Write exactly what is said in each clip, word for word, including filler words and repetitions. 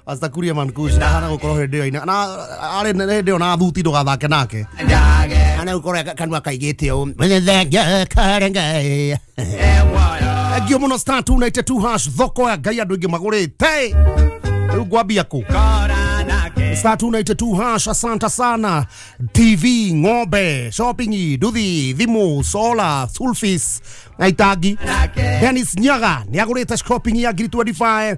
Asta Kuria Mankush ahana gukorwo hindi ĩyo ina na arĩ hĩndĩ ĩyo na thuti ndũgathake nake ana gukorwo kanua kaigĩte ũũ. Thank you muno star two ninety two hash thoko ya Ngai andũ aingĩ magũrĩte rĩu ngwambia kũ star two ninety two hash. Asante sana. T V, ng'ombe, shopping, nduthi, thimũ, solar, sulfis na itangi. Dennis Nyaga nĩ agũrĩte shopping ya ngiri twenty five.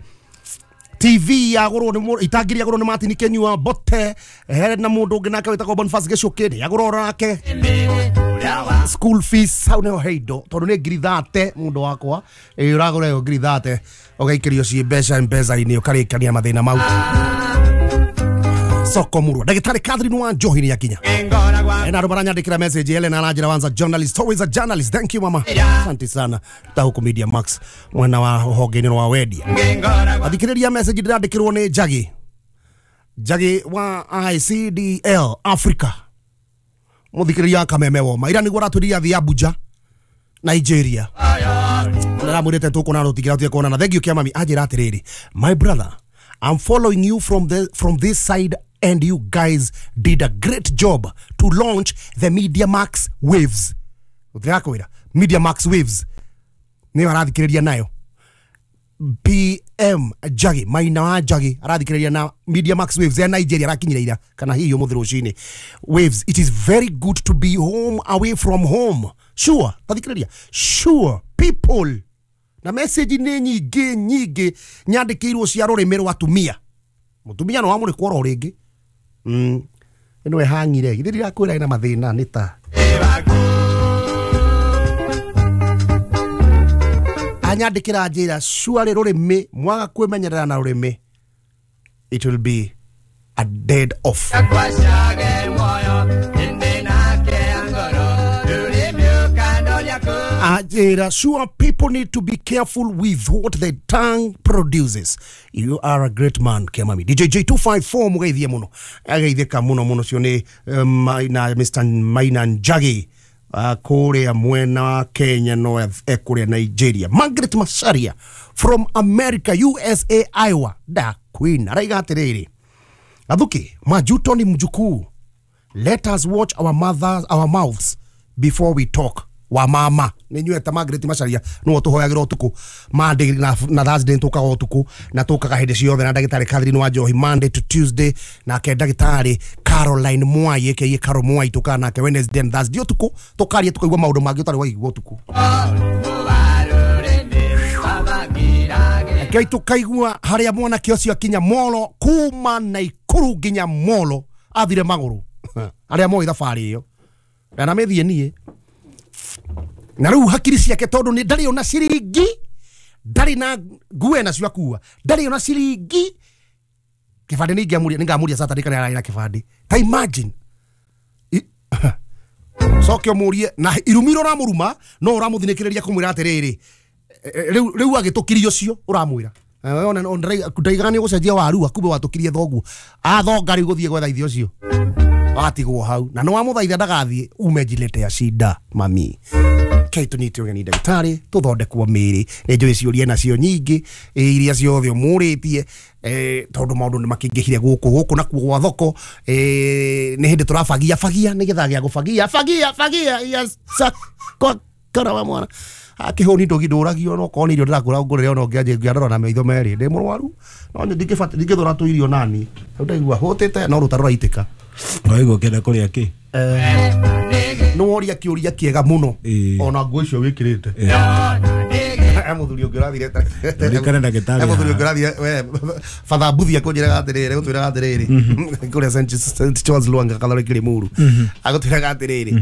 T V yagũrwo nĩ itangi rĩagũrwo nĩ Martin Kenyua Bote here na mũndũ ũngĩ nake wĩtagwo Boniface Gĩcũkĩ nĩagũrwo nake. School fees hau nĩho he indo tondũ nĩ ngiri thate mũndũ wakwa ĩ ũragũra ĩyo ngiri thate ũgaikĩrio ciĩ mbeca mbeca-inĩ ũkarĩkania mathĩna mau. Soko murwa ndagĩtarĩ Catherine wa Njohi nĩ akinya ena andũ maranyandĩkĩra message Elena aranjĩra wanza journalist always a journalist. Thank you mama, asante sana. Tahuku Media Max mwena wa honge-inĩ rwa wendia. Athikĩrĩria message ndĩrandĩkĩrwo nĩ Njagi Njagi wa I C D L Africa muthikĩrĩria Kameme woma ira nĩguo aratwĩrire athiĩ Abuja Nigeria ndĩramwĩrĩte tũkuonana tũtingĩra tũtige kuonana. Thank you kĩamami. Anjĩra atĩrĩrĩ, my brother, I'm following you from the from this side and you guys did a great job to launch the Media Max Waves. Utirakwira Media Max Waves nĩyo arathikĩrĩria nayo P M Njagi Maina wa Njagi arathikĩrĩria na Media Max Waves ya Nigeria arakinyira ira kana hihi ũmũthĩ rũcinĩ. Waves, it is very good to be home away from home. Sure, tathikĩrĩria sure people na message nĩ nyingĩ nyingĩ nyandĩkĩirwo cia rũrĩmĩ rwa atumia. Mũtumia no amũrĩ kworo rĩngĩ mm ĩno ĩhang'ire githĩ ndirakwĩra ĩna mathĩna nĩ ta anyandĩkĩra njĩra surely rũrĩmĩ mwaga kwĩmenyerera na rũrĩmĩ it will be a dead off. Ajira, sure people need to be careful with what the tongue produces. You are a great man, Kemami. D J J two five four mugeithie muno. Ageithika muno muno cio ni na Mister Maina Njagi kũrĩa mwena wa Kenya no ekũrĩa Nigeria. Margaret Macharia from America, U S A, Iowa. Da queen. Araiga atĩrĩrĩ, Athuki, majuto ni mjukuu. Let us watch our mothers, our mouths before we talk. Wa mama nĩ inyuĩ ta Margaret Macharia no tũhoyagĩra ũtukũ Monday na, na Thursday tũkaga ũtukũ na tũkaga hĩndĩ ciothe na ndagĩtarĩ Catherine wa Njohi Monday to Tuesday nake ndagĩtarĩ Caroline Mwai aka Carol Mwai tũkaga nake Wednesday and Thursday ũtukũ tũkaria tũkaigua maũndũ mangĩ ũtarĩ waigua ũtukũ. Ngai tũkaigua harĩa mwanake ũcio akinya Molo kuma Naikuru nginya Molo athire magũrũ arĩa moĩ thabarĩ ĩyo na mĩthiĩ niĩ na rĩu hakiri ciake tondũ nĩ ndarĩ ona ciringi ndarĩ na ngue nacio akua ndarĩ ona ciringi kĩbandĩ nĩ ngamũria Saturday kana ararĩ na kĩbandĩ ta imagine coke ũmũrie na irumiro ũramũruma no ũramũthinĩkĩrĩria kũmwĩra atĩrĩrĩ rĩu rĩu agĩtũkirie ũcio ũramwĩra ndaigana nĩ ũgũcenjia waru akumbe watũkirie thoguo athonga rĩu gũthiĩ gwetha ithe ũcio atigwo hau na nĩ wamũthaitha ndagathiĩ ume njiletea shida mami. Kei tũnyite ũgeni ndagĩtarĩ tũthondekwo mĩĩrĩ nĩ njũĩ ciũria nacio nyingĩ iria ciothe ũmũrĩtie tondũ maũndũ nĩ makĩingĩhire gũkũ gũkũ nakuo gwa thoko nĩ hĩndĩ tũrabagia bagia nĩgetha gĩa gũbagia bagia bagia yes kwa kora wa mwana akĩhũni ndũgindũragio no korwo nĩ irio ndĩrakũra ngũrĩre ona ũngĩanjĩra na maitho merĩ ndĩ mũrwaru no ndingĩthũra tũirio nani rĩu ndaigua hũtĩte no rũta rũraitĩka. Waigua ũkĩenda kũrĩa kĩ? Nĩ woria kĩũria kĩega mũno ona nguo icio wĩkĩrĩte. He mũthuri ũngĩ ũrathire Ririkana ndagĩtarĩ he mũthuri ũngĩ ũrathire we Father Mbuthi akũnjĩraga atĩrĩrĩ agũtwĩraga atĩrĩrĩ kũrĩa Saint Charles Lwanga Catholic Limuru agũtwĩraga atĩrĩrĩ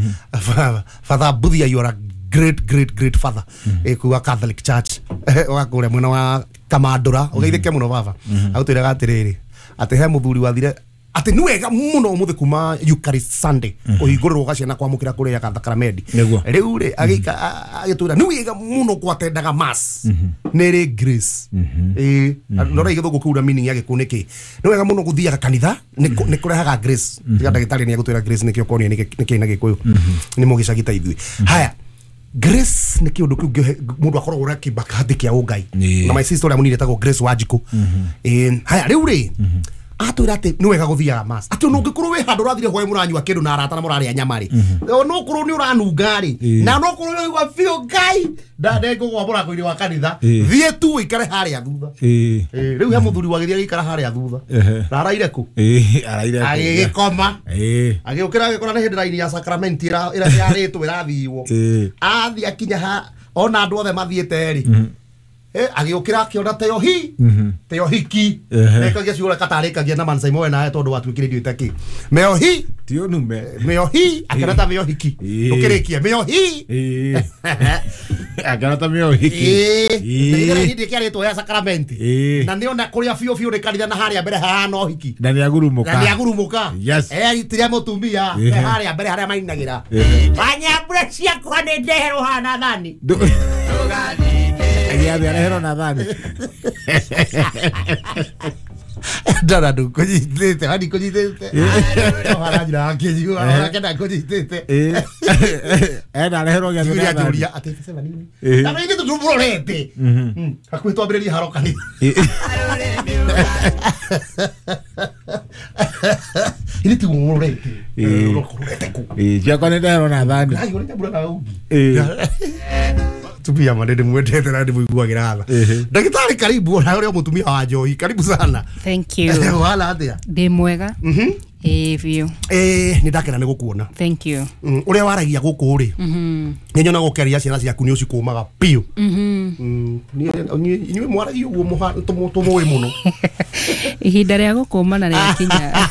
Father Mbuthi, you are a great great great father ekuwa Catholic Church wa kũrĩa mwena wa Kamandũra ũgeithĩke mũno baba agũtwĩraga atĩrĩrĩ atĩ he mũthuri wathire atĩ nĩ wega mũno ũmũthĩ kuma Eucharist Sunday kũhingũrĩrwo gwa ciana kwamũkĩra kũrĩa gathakramedi rĩu rĩ agĩtwĩra nĩ wega mũno gwatendaga mass nĩ rĩ grace ĩĩ no rĩ gĩthũngũ kĩu na meaning ya gĩkũ nĩ kĩ nĩ wega mũno gũthiaga kanitha nĩ kũrehaga grace tiga ndagĩtarĩ nĩ egũtwĩra grace nĩkĩo konia nĩ kĩ na gĩkũyũ nĩ mũgĩcagi ta ithuĩ haya Grace nä kä å ndå kä u må ndå akoragwo na kä kia å ngai na my sister å rä a må nini etagwo Grace Wanjikå. Haya rä u rä atwä ra atä nä wega gå thiaga mass atä ona å ngä korwo wä handå å rathire hwaä må ranyua kä ndå na arata na må rarä a nyama rä no korwo nä å ranunga rä na no korwo nä ũraigua biå ngai ndengå gwa må rango-inä wa kanitha thiä tu å ikare harä a thutha. Rä u he må thuri wagä thiä agä ikara harä a thutha na araire kå agä gä koma agä å kä ra agä kora nä hä ndä raini ya sakramenti yarä two ä rathiwo athiä akinya ha ona andå othe mathiä te rä agä å kä ra akä ona teo hi teo hiki rekagia ciugo katarä kagia na mansa imwe nawe tondå watuä kä rä kä meo hi tio nume meo hi akĩona ta meo hiki ndå kä rä kie meo hi akĩona ta meo hiki ndä kä arä two ya sakramenti na nä ona kå rä a biå biå nä kanitha na harä a mbere hahana å hiki na nä agurumå na nä agurumå ka etiria må tumia harä a mbere harä a mainagä ra wanyambure ciakwa nä ndeherwo hana thani agĩathĩ areherwo na thani ndara ndũkũnyitĩte wani kũnyitĩte haranjira akĩnjigua onake ndakũnyitĩte ena areherwo gĩathĩ na thani atĩ sema nini na ithuĩ tũmũrorete hakuhĩ twambĩrĩrie haro kanitha ithuĩ timũrorete ũrorete kũ ciakwa nĩ ndeherwo na thani ai ũrĩa nyambura na ũngi tumia manene mwendete na ndimuiguagira tha. Ndagitari karibu ona uria mutumia wa njohi karibu sana. Thank you. Wala atia ndi mwega. Mhm. Eh biũ. Eh ni ndakena ni gukuona. Thank you. Uria waragia guku ri mhm ni nyona gukeria ciana ciaku ni ucikumaga biũ. Mhm. Ni inyuĩ mwaragia uguo tumuĩ muno. Ihinda ria gukumana rĩakinya.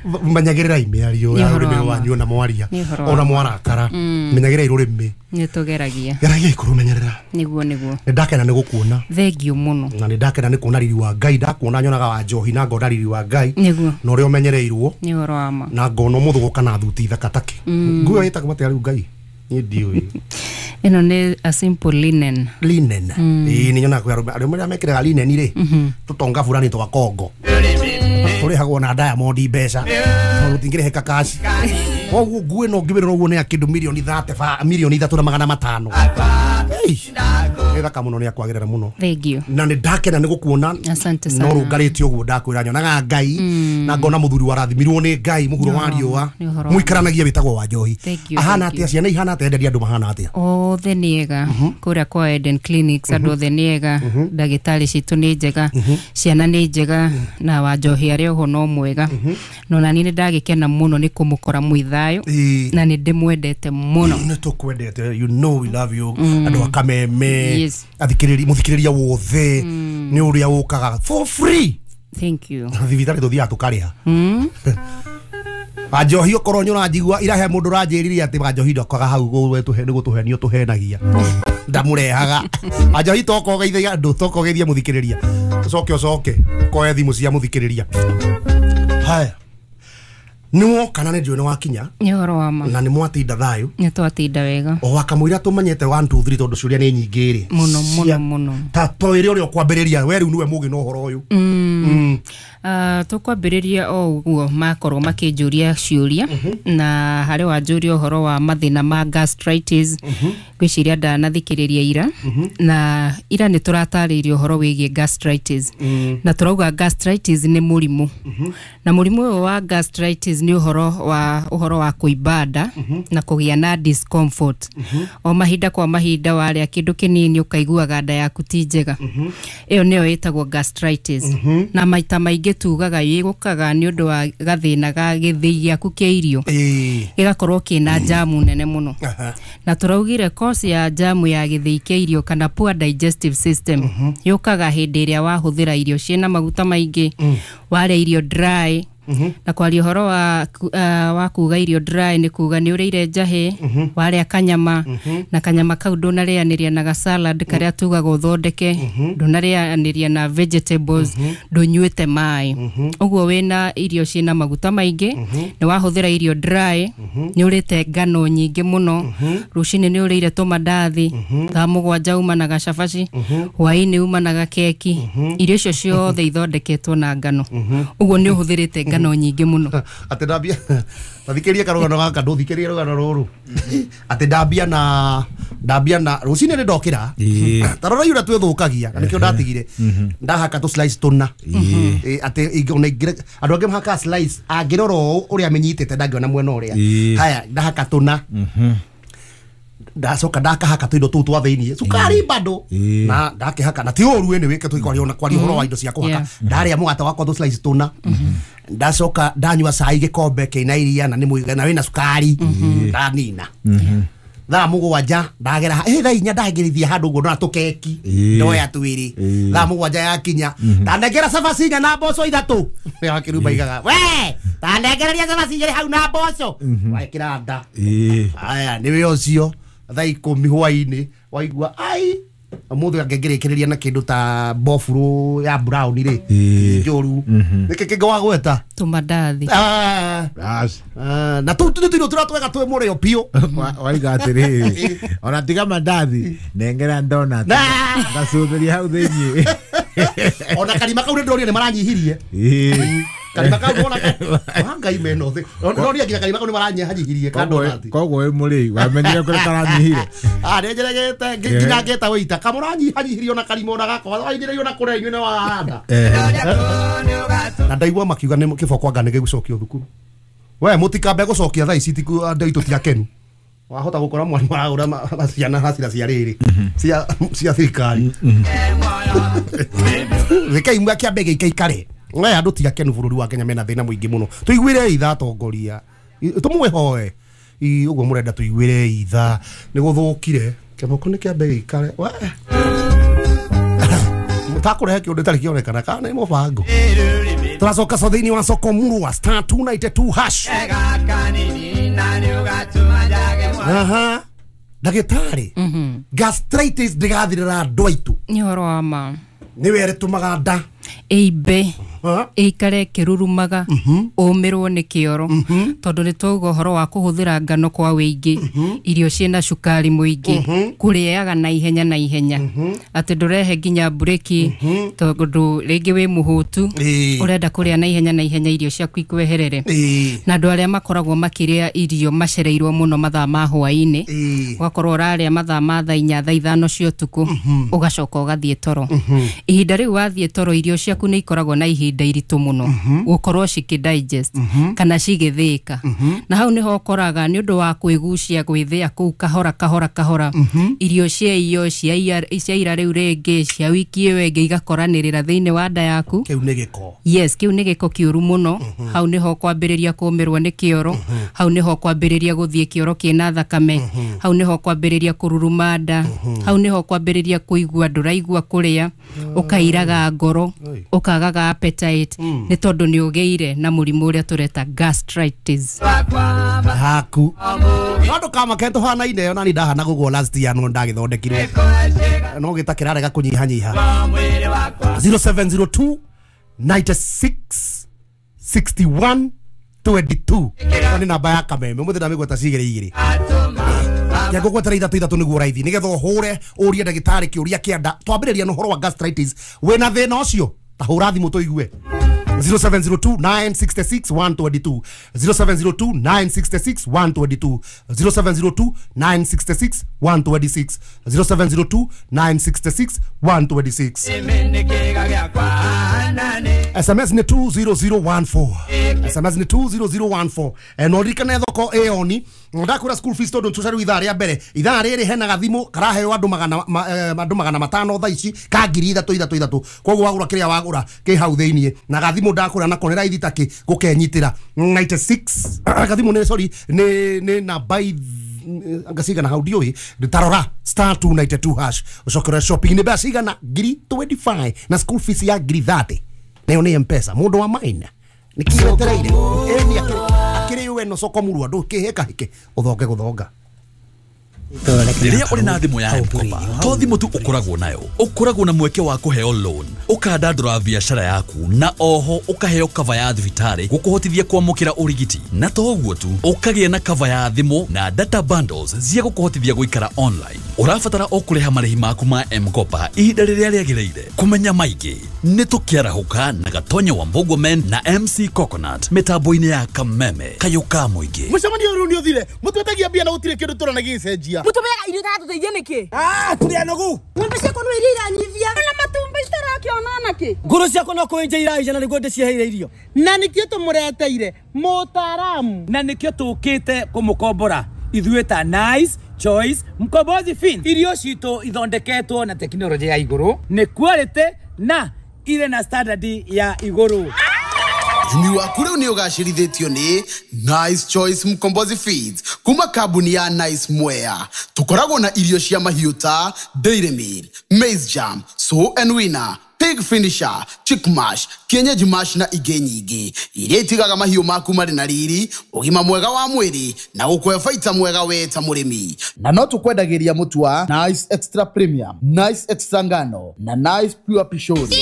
Menyagĩrĩrai mĩario ya rũrĩmĩ rwanyu ona mwaria ona mwarakara menyagĩrĩrai rũrĩmĩ nĩ tũgeragia geragiai kũrũmenyerera nĩguo nĩguo. Nĩ ndakena nĩ gũkuona. Thengiũ mũno. Na nĩ ndakena nĩ kuona riri wa Ngai ndakuona nyonaga wa njohi na ngona riri wa Ngai nĩguo na ũrĩa ũmenyereirwo nĩ ũhoro wa ma na ngona ũmũthĩ gũka na thuti thaka take nguo ĩtagwo atĩa rĩu Ngai niĩ ndiũĩ. Ĩno nĩ a simple linen. Linen ĩĩ nĩ nyonaga kwĩ arũme arĩa mekĩraga linen rĩ tũtonga burani twa Kongo tũrĩhagwo na diamond mbeca tondũ tũtingĩrĩhĩka cash koguo nguo ĩno ngĩmĩrora ũguo nĩ ya kĩndũ mirioni thate mirioni ithatũ na magana matano. Nĩ thaka mũno nĩ akwagĩrĩra mũno. Thank you. Na nĩ ndakena nĩ gũkuona. Asante sana. No rũngarĩte ũguo ndakwĩra nyonaga Ngai na ngona mũthuri warathimirwo nĩ Ngai mũhuro wa riũa mũikaranagia wĩtagwo wa njohi. Ahana atĩa ciana ihana atĩa enderia andũ mahana atĩa? Othe nĩ ega kũrĩa kwa Eden Clinics andũ othe nĩ ega ndagĩtarĩ citũ nĩ njega ciana nĩ njega na wa njohi arĩ oho no mwega no na niĩ nĩ ndagĩkena mũno nĩ kũmũkora mwĩ thayũ na nĩ ndĩmwendete mũno. Nĩ tũkwendete, you know we love you andũ a Kameme Yes. athikĩrĩria mũthikĩrĩria wothe nĩ ũrĩa ũkaga for free. Thank you. Thibitarĩ tũthiaga tũkarĩha. Wanjohi okorwo nĩ ũranjigua irahe mũndũ ũranjĩrire atĩ Wanjohi ndokaga hau nĩ gũtũhenio tũhenagia ndamũrehaga. Wanjohi toka ũgeithia andũ toka ũgeithia mũthikĩrĩria ũcoke ũcoke koe thimũ cia mũthikĩrĩria. Haya nĩ woka na nĩ njũĩ nĩ wakinya nĩ ũhoro wa ma na nĩ mwatinda thayũ. Nĩ twatinda wega o wakamũira tũmenyete one two three tondũ ciũria nĩ nyingĩ rĩ mũno mũno mũno ta twĩre ũrĩa ũkwambĩrĩria we rĩu nĩwe mũgĩ na ũhoro ũyũ. Tũkwambĩrĩria o ũguo makorwo makĩnjũria ciũria na harĩ wanjũria ũhoro wa mathĩna ma gastritis ngwĩciria ndanathikĩrĩria ira na ira nĩ tũratarĩirie ũhoro wĩgiĩ gastritis na tũrauga gastritis nĩ mũrimũ na mũrimũ ũyũ wa gastritis nĩ ũhoro wa ũhoro wa kũimba nda na kũgĩa na discomfort o mahinda kwa mahinda warĩa kĩndũ kĩnini ũkaiguaga nda yaku ti njega ĩyo nĩyo ĩtagwo gastritis na maita maingĩ tugaga ĩgũkaga nĩ ũndũ wa gathĩna ga gĩthĩi gĩaku kĩa irio gĩgakorwo kĩna jamu nene mũno na tũraugire cause ya jamu ya gĩthĩi kĩa irio kana poor digestive system yũkaga hĩndĩ ĩrĩa wahũthĩra irio ciĩna maguta maingĩ warĩa irio dry na kwaria ũhoro wa uh, wa kuga irio dry nĩ kuga nĩ ũrĩire njahĩ warĩa kanyama na kanyama kau ndũnarĩanĩria na ga salad karĩa tugaga ũthondeke ndũnarĩanĩria na vegetables ndũnyuĩte maĩ ũguo wĩna irio ciĩna maguta maingĩ nĩ wahũthĩra irio dry nĩ ũrĩte ngano nyingĩ mũno rũcinĩ nĩ ũrĩire tũmandathi thaa mũgwanja uma na gacabaci hwaĩ-inĩ uma na gakeki irio icio ciothe ithondeketwo na ngano ũguo nĩ ũhũthĩrĩte Ngano nyingĩ mũno. Atĩ ndambia tathikĩrie karũgano gaka, ndũthikĩrie rũgano rũrũ. Atĩ ndambia na ndambia na rũcinĩ nĩ ndokĩra ta rora yura twĩthũkagia na nĩkĩo ndatigire ndahaka tũ slice tũna. Atĩ ona ingĩre andũ angĩ mahaka slice angĩrora ũũ ũrĩa amenyitĩte ndangĩona mwena ũrĩa. Haya ndahaka tũna, ndacoka ndakahaka tũindo tũu twa thĩiniĩ cukari bado na ndakĩhaka na ti ũru anyway ke tũikwaria ona kwaria ũhoro wa indo cia kũhaka. Ndarĩa mũgate wakwa tũ slice tũna, ndacoka ndanyua cai gĩkombe kĩna iria na nĩ mũigana wĩna cukari ndanina. Thaa mũgwanja ndagera ĩ thaa inya ndagĩrithia handũ ũguo ndona tũkeki ndoya twĩrĩ. Thaa mũgwanja yakinya ndanengera cabaci inya na mboco ithatũ. Wakĩrumba igaga we ndanengereria cabaci igĩrĩ hau na mboco wekĩra nda. Aya nĩwe ũcio thaa ikũmi hwainĩ waigua ai ũmũthĩ angĩngĩrĩkĩrĩria na kĩndũ ta mbofurũ ya brown rĩ njũru nĩkĩ kĩngĩ wagweta tũmandathi na tũu nĩ tũirio tũrĩa twega twĩ mũrĩo biũ. Waiga atĩrĩrĩ ona tiga mandathi nengera ndonat ngacũthĩria hau thĩiniĩ. Ona karima kau nĩ ndĩronire nĩ maranyihirie karima kau ndona wa Ngai meno thĩ ndĩronire nginya karima kau nĩ maranyihanyihirie ka ndonati. Koguo wĩ mũrĩi wamenyire kũrĩa karanyihire. Ah nĩ njeregete nginya ngeta wĩita kamũranyihanyihirie ona karima ona gakwa waithĩrĩirio ona kũrĩa inyuĩ nĩ wahanda. Na ndaigua makiuga nĩ kĩboko anga nĩ gĩgũcokio thukuru. We mũtikambe gũcokia thaa ici andũ aitũ ti akenu. Wahota gũkora mwarimũ aragũra ciana hacira cia rĩrĩ cia cia thirikari. Rekei kĩambe gĩikaikare. We andũ ti akenu bũrũri wa Kenya mena thĩna mũingĩ mũno. Tũiguĩre itha atongoria tũmwĩhoe ũguo mũrenda tũiguĩre itha nĩ gũthũkire kĩboko nĩ kĩambe gĩikare. We mũtakũrehe kĩũndũ ĩtarĩ kĩonekana kana nĩ mũbango. Tũracoka so thĩinĩ wa soko murwa star two nine two hash. Aha ndagĩtarĩ gastritis ndĩgathirĩra andũ aitũ. Nĩ ũhoro wa ma nĩwe ĩrĩtũmaga nda ĩimbe ĩikare ĩkĩrurumaga ũmĩrwo nĩ kĩoro tondũ nĩ twauga ũhoro wa kũhũthĩra ngano kwa wĩingĩ, irio ciĩna cukari mũingĩ, kũrĩaga na ihenya na ihenya atĩ ndũrehe nginya mburĩki tondũ rĩngĩ wĩ mũhũtu ũrenda kũrĩa na ihenya na ihenya irio ciaku ikweherere. Na andũ arĩa makoragwo makĩrĩa irio macereirwo mũno mathaa ma hwaĩ-inĩ, ũgakorwo ũrarĩa mathaa ma thaa inya thaa ithano cia ũtukũ ũgacoka ũgathiĩ toro. Ihinda rĩu wathiĩ toro irio ciaku nĩ ikoragwo na ihinda iritũ mũno gũkorwo cikĩ digest kana cigĩthĩĩka. Na hau nĩho ũkoraga nĩ ũndũ wa kwĩgucia gwĩthĩa kũu kahora kahora kahora irio cia iyo cia ira rĩu rĩngĩ cia wiki ĩyo ĩngĩ igakoranĩrĩra thĩinĩ wa nda yaku. Kĩu nĩ gĩko. Yes, kĩu nĩ gĩko kĩũru mũno. Hau nĩho kwambĩrĩria kũmĩrwo nĩ kĩoro, hau nĩho kwambĩrĩria gũthiĩ kĩoro kĩna thakame, hau nĩho kwambĩrĩria kũruruma nda, hau nĩho kwambĩrĩria kũigua ndũraigua kũrĩa, ũkairaga ngoro, ũkagaga appetite nĩ tondũ nĩ ũgĩire na mũrimũ ũrĩa tũreta gastritis. Haku no ndũkamake tũhanaine ona ni ndahana gũgwo last year no ndagĩthondekirwo no gĩta kĩrarega kũnyihanyiha. zero seven zero two nine six six one two two nĩ namba ya kameme mũthĩ ndamĩgweta cigĩrĩ igĩrĩ kĩangũgwetera ithatũ ithatũ nĩguo raithi nĩgetha ũhũre ũrie ndagĩtarĩ kĩũria kĩa nda. Twambĩrĩria na ũhoro wa gastritis wĩna thĩna ũcio ta hũra thimũ tũigue. zero seven zero two nine six six one two two zero seven zero two nine six six one two two zero seven zero two nine six six one two six zero seven zero two nine six six one two six. S M S ni two zero zero one four. S M S ni two zero zero one four. No ririkane thoko ĩoni ndakura school fees tondu tucaru ithaa rĩa mbere ithaa rĩrĩ hena gathimũ karaheo andũ magana andũ magana matano thaa ici ka ngiri ithatũ ithatũ ithatũ. Koguo wagũra kĩrĩa wagũra kĩ hau thĩiniĩ na gathimũ ndakũra nako nĩ raithi takĩ gũkenyitĩra ninety six gathimũ nĩ sorry nĩ nĩ namba ngacigana hau ndiũĩ tarora star two nine two hash ũcokere shopping nĩ mbeca cigana ngiri twenty five na school fees ya ngiri thirty nayo nĩ M-Pesa mũndũ wa maina nĩ kĩwetereire ĩni akĩrĩ we no soko murwa ndũkĩhĩka hĩke ũthonge gũthonga. Rĩrĩa ũrĩ na thimũ ya M-Kopa, to thimũ tu ũkoragwo nayo, ũkoragwo na mweke wa kũheo loan, ũkandandũra biacara yaku, na oho ũkaheo cover ya thibitarĩ gũkũhotithia kwamũkĩra ũrigiti. Na to ũguo tu, ũkagĩa na cover ya thimũ na data bundles cia gũkũhotithia gũikara online. Ũrabatara o kũrĩha marĩhi maku ma M-Kopa ihinda rĩrĩa rĩagĩrĩire. Kũmenya maingĩ nĩ tũkĩarahũka na Gatonya wa Mbogwa Men na M C Coconut mĩtambo-inĩ ya Kameme kayũ ka mũingĩ. Mũcemanio ũyũ nĩ ũthire, mũtwetagia mbia na gũtirĩ kĩndũ tũrona gĩgĩcenjia. Mũtũmĩaga irio itaratũteithia nĩkĩ? Ah, tũrĩ anogu. Ng'ombe ciakwa no iria iranyivia. Na matumbĩ itarakĩona nakĩ? Ngũrũ ciakwa no kũenja iraija na nĩguo ndĩciheire irio. Na nĩkĩo tũmũreteire mũtaaramu. Na nĩkĩo tũkĩte kũmũkombora ithuĩ ta Nice Choice Mkombozi Fin. Irio citũ ithondeketwo na tekinoronjĩ ya igũrũ, nĩ quality na irĩ na standard ya igũrũ. Ũrĩmi waku rĩu nĩ ũgacĩrithĩtio nĩ Nice Choice Mkombozi Feeds kuma kambuni ya Nice Mwea. Tũkoragwo na irio cia mahiũ ta Dairy Meal, Maize Jam, Sow and Winner, Pig Finisher, Chick Mash, Kienyeji Mash na ingĩ nyingĩ iria itigaga mahiũ maku marĩ na riri, ũgima mwega wa mwĩrĩ na gũkũhe baita mwega we ta mũrĩmi. Na no tũkwendagĩria mũtu wa Nice Extra Premium, Nice Extra Ngano na Nice Pure Pishori.